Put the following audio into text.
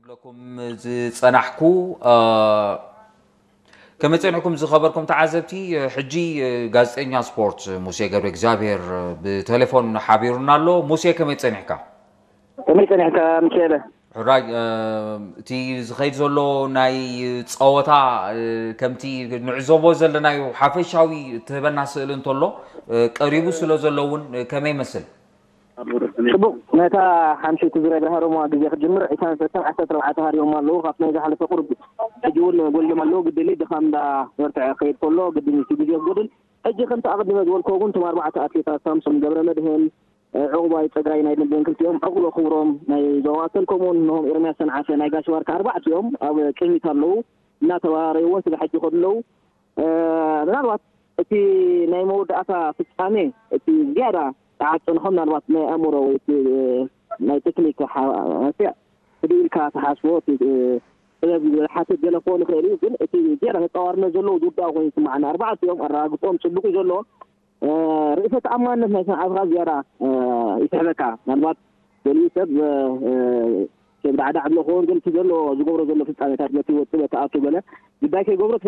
ለኩም ዝጸናሕኩ ከመይ ጸኒሕኩም ዝኸበርኩም ተዓዘብቲ? ሕጂ ጋዜጠኛ ስፖርት ሙሴ ገብረ እግዚኣብሔር ብቴሌፎን ሓቢሩና ኣሎ። ሙሴ ከመይ ጸኒሕካ? ከመይ ጸኒሕካ ሚካኤለ? ሕራይ እቲ ዝኸይድ ዘሎ ናይ ጸወታ ከምቲ ንዕዘቦ ዘለናዮ ሓፈሻዊ ትህበና ስእሊ እንተሎ ቀሪቡ ስለ ዘሎ እውን ከመይ ይመስል? ጽቡቕ። ነታ ሓምሸይቲ ዙርያ ግርሃ ሮማ ግዜ ክትጅምር ዒስራን ሰለስተን ዓሰርተ ኣርባዕተ ሃሪቦም ኣለዉ። ካብቲ ናይ ዝሓለፈ ቁሩብ ሕጂ እውን ጎሊሎም ኣለዉ። ግድሊ ድኻም እንዳ በርትዐ ክኸይድ ከሎ ግድን እቲ ግዜ ክጎድል። ሕጂ ከምቲ ኣቐዲመ ዝበልክዎ እውን እቶም ኣርባዕተ ኣትሌታት ሳምሶም ገብረ መድህን፣ ዕቑባይ ጸጋይ ናይ ደንደን ክልቲኦም፣ ዕቑበ ክብሮም ናይ ዞባ ማእከል ከምኡ እውን እነሆም ኤርምያስ ሰንዓፈ ናይ ጋሽ ባርካ ኣርባዕቲኦም ኣብ ቅድሚት ኣለዉ። እናተባራረዩ እውን ስለ ሕጂ ይኸዱ ኣለዉ። ምናልባት እቲ ናይ መወዳእታ ፍጻሜ እቲ ዝያዳ ተዓጽንሖ ምናልባት ናይ ኣእምሮ ወይ እቲ ናይ ቴክኒክ ሓ- ህድእ ኢልካ ትሓስቦ እቲ ጥበብ ዝሓትት ገለ ክኾን ይኽእል እዩ። ግን እቲ ዝያዳ ተጻዋርነት ዘለዎ ዝውዳእ ኮይኑ ይስምዓኒ። ኣርባዕቲኦም ኣረጋግጾም ጽቡቕ እዩ ዘሎ። ርእሰ ተኣማንነት ናይ ሰንዓፈ ዝያዳ ይስሕበካ። ምናልባት ገሊኡ ሰብ ሰብ ዳዕዳዕ ብሎ ክኸውን ግን እቲ ዘሎ ዝገብሮ ዘሎ ፍጻሜታት በቲ ወጥበ ተኣቱ ገለ ግዳይ ከይገብሮ